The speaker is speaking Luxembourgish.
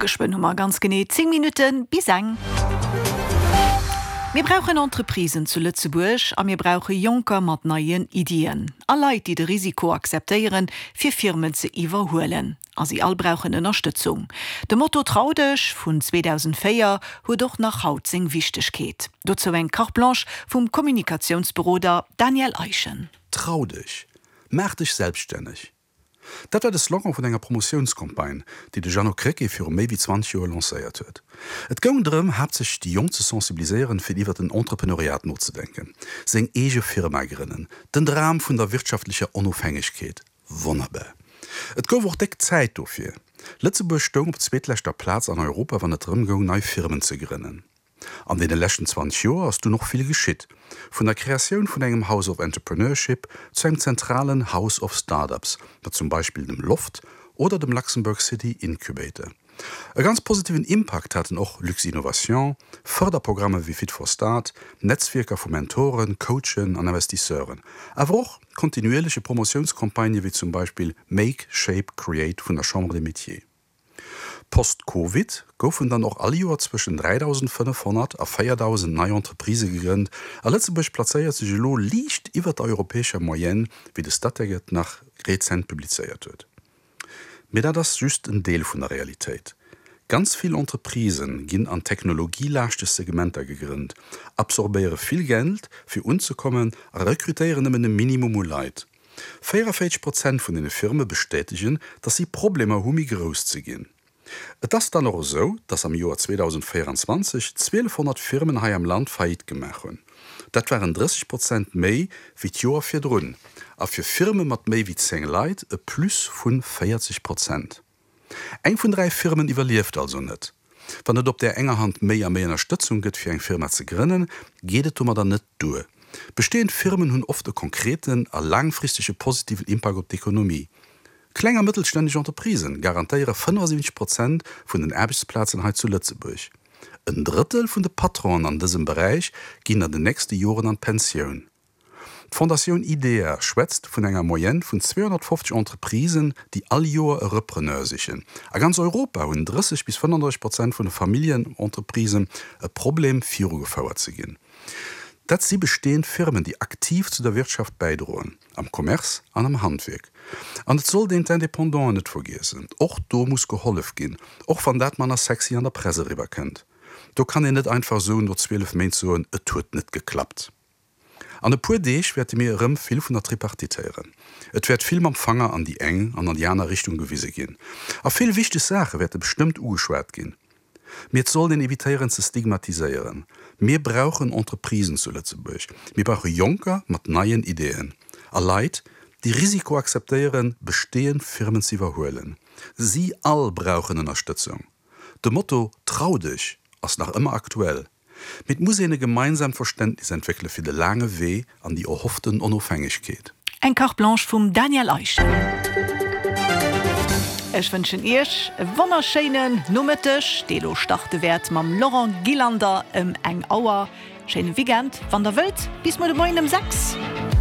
Geschwënn hu mer ganz genee 10 Minutte bis eng. Mir brauchen Entreprisen zu Lëtzebuerg a mir brauche Jonker mat neien Iddien a Leit, déi de Risiko akzeptéieren, fir Firmen ze iwwerhuelen. A si all brauchen Ënnerstëtzung. De Motto Trau dech vun 2004 huet och nach haut seng Wichtegkeet. Dozou eng Carte Blanche vum Kommunikatiounsberoder Daniel Eischen. Trau dech! Maach dech selbststänneg! Dat war de Slogan vun enger Promotiounscampagne, déi de Jeannot Krecké viru méi wéi 20 Joer lancéiert huet. Et goung drëm, haaptsächlech déi Jonk ze sensibiliséieren, fir iwwer den Entrepreneuriat nozedenken, seng eege Firma grënnen, den Dram vun der wirtschaftlecher Onofhängegkeet. Wonnerbar! Et gouf och déck Zäit dofir. Lëtzebuerg stoung op zweetleschter Plaz an Europa, wann et drëm goung, nei Firmen ze grënnen. An deene leschten 20 Joer ass dunn och vill geschitt, vun der Kreatioun vun engem House of Entrepreneurship zu engem zentralen House of Startups, mat zum Beispill dem Loft oder dem Luxembourg City Incubator. E ganz positiven Impakt haten och Luxinnovation, Fërderprogramme wéi Fit for Start, Netzwierker vu Mentoren, Coachen an Investisseuren, awer och kontinuierleche Promotiounscampagnë wéi zum Beispill Make, Shape, Create vun der Chambre des Métiers. Post-Covid goufen dann och all Joer zwëschen 3.500 a 4.000 nei Entreprisë gegrënnt a Lëtzebuerg plazéiert sech elo liicht iwwer der europäescher Moyenne, wéi de Statec et nach rezent publizéiert huet. Mee dat ass just en Deel vun der Realitéit. Ganz vill Entreprisë ginn an technologielaaschteg Segmenter gegrënnt, absorbéiere vill Geld fir unzekommen a rekrutéieren nëmmen e Minimum u Leit. 44 Prozent vun deene Firme bestätegen, datt si Problemer hu méi grouss ze ginn. Et ass dann och esou, datt am Joer 2024 1.200 Firmen hei am Land Faillite gemaach hunn. Dat waren 30 Prozent méi wéi d'Joer virdrun a fir Firme mat méi wéi 10 Leit e Plus vu 40 Prozent. Eng vun 3 Firmen iwwerlieft also net. Wann et op där enger Hand méi a méi Ënnerstëtzung gëtt fir eng Firma ze grënnen, geet et domadder net duer. Bestehend Firmen hunn oft e konkreten a laangfristege positiven Impakt op d'Ekonomie. Kleng a mëttelstänneg Entreprisen garantéiere 75 Prozent vun den Aarbechtsplazen hei zu Lëtzebuerg. En Drëttel vun de Patronen an dësem Beräich ginn an den nächste Joren an d'Pensioun. D'Fondatioun IDEA schwätzt vun enger Moyenne vun 250 Entreprisen, déi all Joer e Repreneur sichen. A ganz Europa hunn 30 bis 35 Prozent vun de Familljenentreprisen e Problem, virugefouert ze ginn. Dat si bestehend Firmen, déi aktiv zu der Wirtschaft bäidroen, am Commerce an am Handwierk. An et sollt een d'Independanten net vergiessen. Och do muss gehollef ginn, och wann dat manner sexy an der Press eriwwerkënnt. Do kann een net einfach esou no 12 Méint soen, et huet net geklappt. An e puer Deeg wäerte mir erëm vill vun der Tripartite héieren. Et wäert vill mam Fanger an déi eng an an déi aner Richtung gewise ginn. A vill wichteg Saache wäerte bestëmmt ugeschwat ginn. Mee et sollt een evitéieren ze stigmatiséieren. Mir brauchen Entreprisen zu Lëtzebuerg. Mir brauche Jonker mat neien Ideeën a Leit, déi Risiko akzeptéieren, bestehend Firmen ze iwwerhuelen. Si all brauchen Ënnerstëtzung. De Motto Trau dech! ass nach ëmmer aktuell. Mee et muss een e gemeinsaamt Verständnis entwéckele fir de laange Wee an déi erhofften Onofhängegkeet. Eng Carte Blanche vum Daniel Eischen. Ech wënschen Iech e wonnerschéinen Nomëtteg, dee lo starte wäert mam Laurent Gillander ëm eng Auer. Schéine Weekend, wann der wëllt, bis muer de Moien ëm 6.